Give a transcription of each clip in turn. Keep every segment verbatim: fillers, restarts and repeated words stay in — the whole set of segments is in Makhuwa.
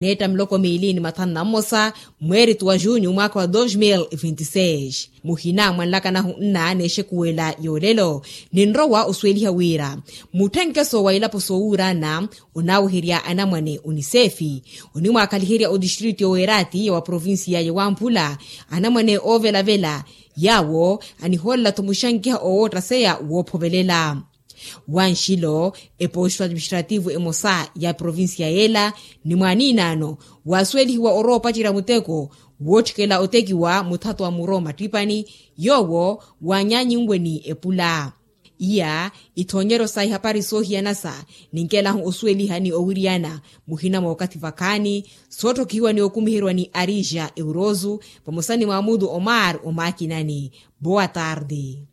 Neetta miloko miili ni mathanu na mmosa, mweeritu wa junyu mwaakha wa dos mil vinti seis. Muhina mwa nlakanahu nna n'exekuwela y'olelo, ninrowa osuweliha wira mutthenkeso wa ilapo soowuurana onaaweherya anamwane oniseefi, onimwaakhaliherya otistritu y'oweeraati ya wa provincia ya wamphula. Anamwane oovelavela yaawo anihoolela-tho muxankiha owoottaseya woophovelela. Wanxilo, eposto administrativo emosa ya provincia yeela ni mwaaniinaano waasuwelihiwa orowa opacerya muteko wootthikela otekiwa muthato wa muro mattippani, yoowo waanyaanyinwe ni epula. Iya ithoonyeryo sa ihapari soohiyanasa ninkelahu osuweliha ni owiriyana muhina mwa okathi vakhaani, sootthokihiwa ni okumiheryiwa ni arija euroso vamosa ni mwamutu omar omakinani. Boa tarde.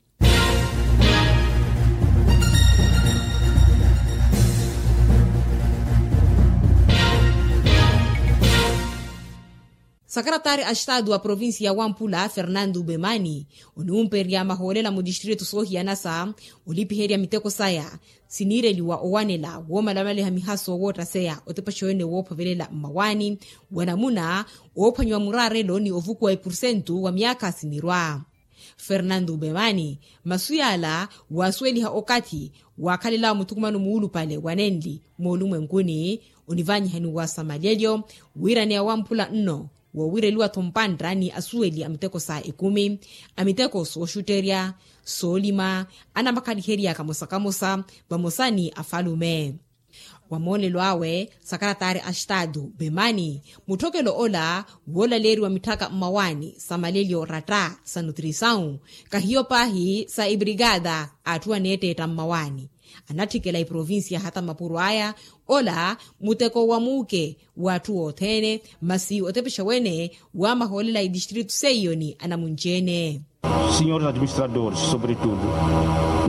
Sakaratari a estadu wa provincia ya wampula fernando bemani oniwumpererya mahoolela mu distritu soohiyanasa olipiherya miteko saya siniireliwa owanela woomalamaliha mihaso woottaseya otepexa wene woophovelela mmawaani wa namuna oophwanyiwa muraarelo ni ovukuwa epursentu wa myaakha sinirwa. Fernando ubemani masu yaala waasuweliha okathi waakhalelawo muthukumano muulupale wa nenli moolumwenkuni onivanyihaniwa sa malyelyo wiiraneya wamphula nno woowireliwa-tho mpantta ni asuweli a miteko sa ekumi a miteko sooxutterya soolima anamakhaliherya kamosa kamosa vamosa ni afalume. Wa moolelo awe sakaratari a estadu bemani mutthokelo ola woolaleeriwa mitthaka mmawaani sa malelyo ratta sa nutrisawu kahiyo paahi sa ebrigada atthu aneetteetta mmawaani anatthikela eprovincia hata mapuro aya ola muteko wa muuke w'atthu othene masi otepexa wene wa mahoolela a etistritu seiyo ni anamunci-ene. Senhores administradores sobretudo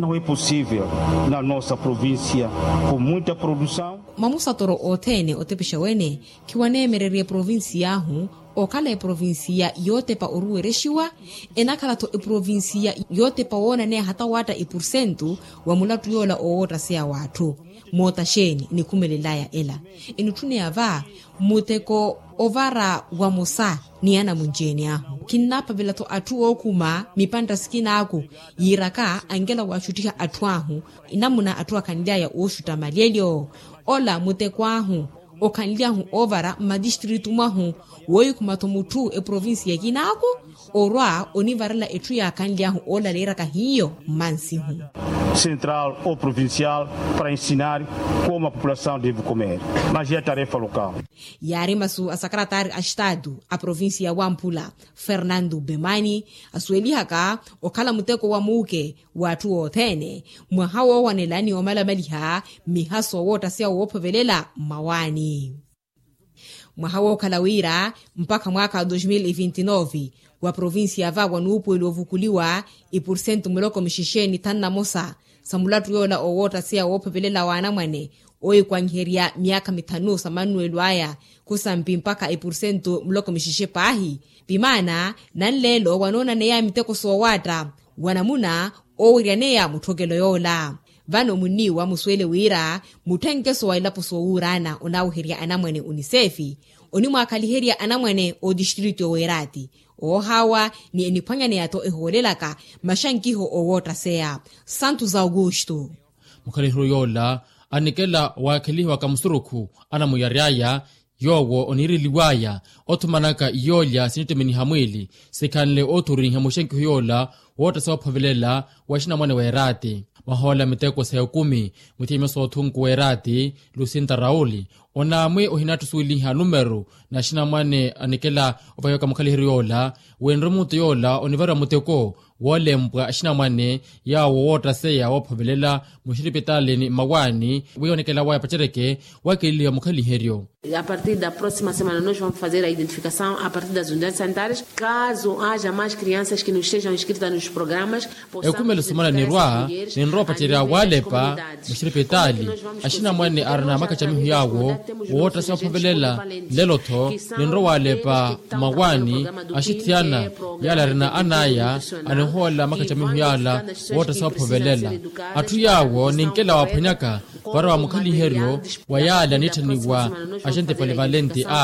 não é possível na nossa província com muita produção. Mamusatoro othene otepexa wene khiwaneemererya eprovincia ahu okhala eprovincia yootepa oruwerexiwa enakhala-tho eprovincia yootepa woonaneya hata waatta epursentu wa mulattu yoola owoottaseya w'atthu. Moota xeeni enikhumelelaya ela enitthuneya va muteko ovara wamosa ni anamunci-ene ahu khinnaapavela-tho atthu ookhuma mipantta sikinaaku yiiraka ankela waaxuttiha atthu ahu enamuna atthu akhanly'aya ooxutta malyelyo ola muteko ahu okhanly'ahu oovara mmatistritu mwahu woohikhuma-tho mutthu eprovincia ekinaaku orwa onivarela etthu yaakhanly'ahu oolaleeraka hiyo mmansihu. Central ou provincial para ensinar como a população deve comer mas é a tarefa local. Yaari masu a sakaratari a estadu a provincia ya wamphula fernando bemani asuwelihaka okhala muteko wa muuke w'atthu othene mwaha woowanela ni omalamaliha mmihaso woottaseya woophovelela mmawaani. Mwaha wookhala wira mpakha mwaakha wa dos mil vinti nove wa provincia va wanuupuweliwa ovukuliwa ipursentu muloko mixexe ni thanu na mosa sa mulattu yoola owoottaseya woophovelela w'anamwane oohikwanyiherya myaakha mithanu sa mannuwelo aya khusampi mpakha ipursentu muloko mixexe paahi. Pimaana nanleelo wanoonaneya miteko soowaatta wa namuna oowiryaneya mutthokelo yoola. Vano munniiwa musuwele wira mutthenkeso wa ilapo soowuuraana onaaweherya anamwane oniseefi onimwaakhaliherya anamwane otistritu oweeraati oohaawa ni eniphwanyaneya-tho ehoolelaka maxankiho owoottaseya. Santos augusto. Mukhalihiro yoola anikela waakhelihiwaka musurukhu anamuyary'aya yoowo oniireliw'aya othumanaka iyoolya sinittiminiha mwiili sikhanle oothuriha muxenkiho yoola woottaseya woophovelela wa axinamwane w'eraati. Mwahoolela miteko sa ekumi muthiimyo soothunku w'eraati lusinta rauli onaamwi ohinattusuweliha numeru na axinamwane anikela ovahiwaka mukhalihiro yoola winre mutu yoola onivariwa muteko woolempwa axinamwane yaawo woottaseya woophovelela muxiripitali ni mmawaani wiiwanekela waya pacereke waakeliwa mukhaliheryo. A partir da próxima semana nos vamos fazer a identificação a partir das unidades sanitárias caso haja mais crianças que nos sejam inscritas nos programas. Ekhumelo somana nirwa ninrowa opacerya waalepa muxiripitali axinamwane arina makacamiho yaawo woottaseya woophovelela nlelo-tho ninrowa waalepa mmawaani axithiyana yaale arina anaya. ohoolela makacamiho yaala wootta soophovelela. Atthu yaawo ninkela waaphwanyaka para wa mukhaliheryo wa yaale aniitthaniwa agente polivalente a